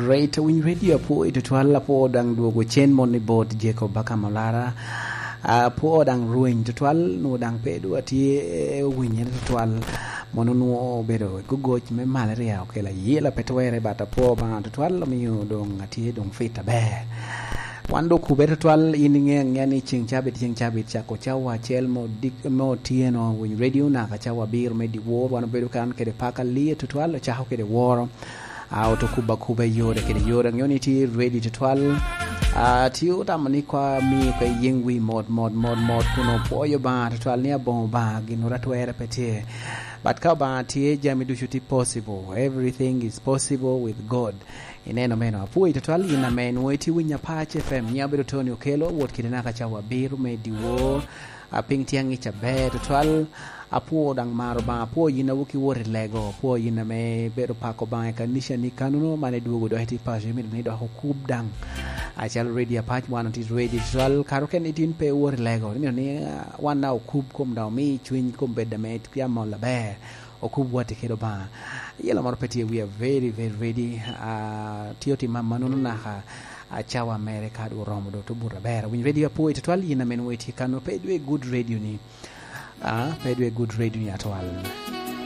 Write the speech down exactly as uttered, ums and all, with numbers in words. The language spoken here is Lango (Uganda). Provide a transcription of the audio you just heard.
Great, winy radio apwo i tutwal, apwo daŋ dwogo cen mon i bot Jacob Baka Malara. Apwo daŋ rweny tutwal, nwo daŋ pe dwa tye, eh, winyere tutwal. Mono nwo obedo gogoc me malaria okelo ayela pe twere, but apwo Obaŋa tutwal omio doŋ atye doŋ fit aber. Wan dok kube tutwal, in iŋe aŋea ni ceŋ cabit, ceŋ cabit cako cawa acel me odik-, me otyeno, winy radio naka cawa abiro me dyewor, wan obedo kan kede paka liye tutwal, ocako kede woro. A, oto kuba kuba i yore kede yore, aŋeo ni tye ready tutwal. A, tye otamo ni kwa mi kwa yeŋ wi mot, mot, mot, mot, kun opwoyo Obaŋa tutwal ni aboŋo Obaŋa gin ora twere pe tye. But ka Obaŋa tye, jami ducu tye possible. Everything is possible with God. Ineno meno, apwoyi tutwal in ame nwoŋo itye winyo Apac F M, nyiŋa bedo Tony Okello, wot kede naka cawa abiro me dyewor. A, piny tye aŋic aber tutwal. Apwo daŋ maro Obaŋa, apwo yin a wok iwot i lego, apwo yin ame bedo pako Obaŋa i kanica ni kanunu, man idwogo dok iti paco, imito ni dok okub daŋ. Acalo ready Apac, wan oti ready tutwal, kare okene itin pe iwot i lego, imito ni, ah, wan na okub kom daŋ omi cwiny kom bed ame tye amol aber, okub watti kede Obaŋa. Yelo moro pe tye, we are very, very ready. Ah, tye otim amanunu naka, ah, cawa mere ka dwe oromo, dwe otubo aber. Winy ready apwo i tutwal, yin ame nwoŋo itye kano, pe idwe good radio ni. Ah, pe idwe good radio ni atwal.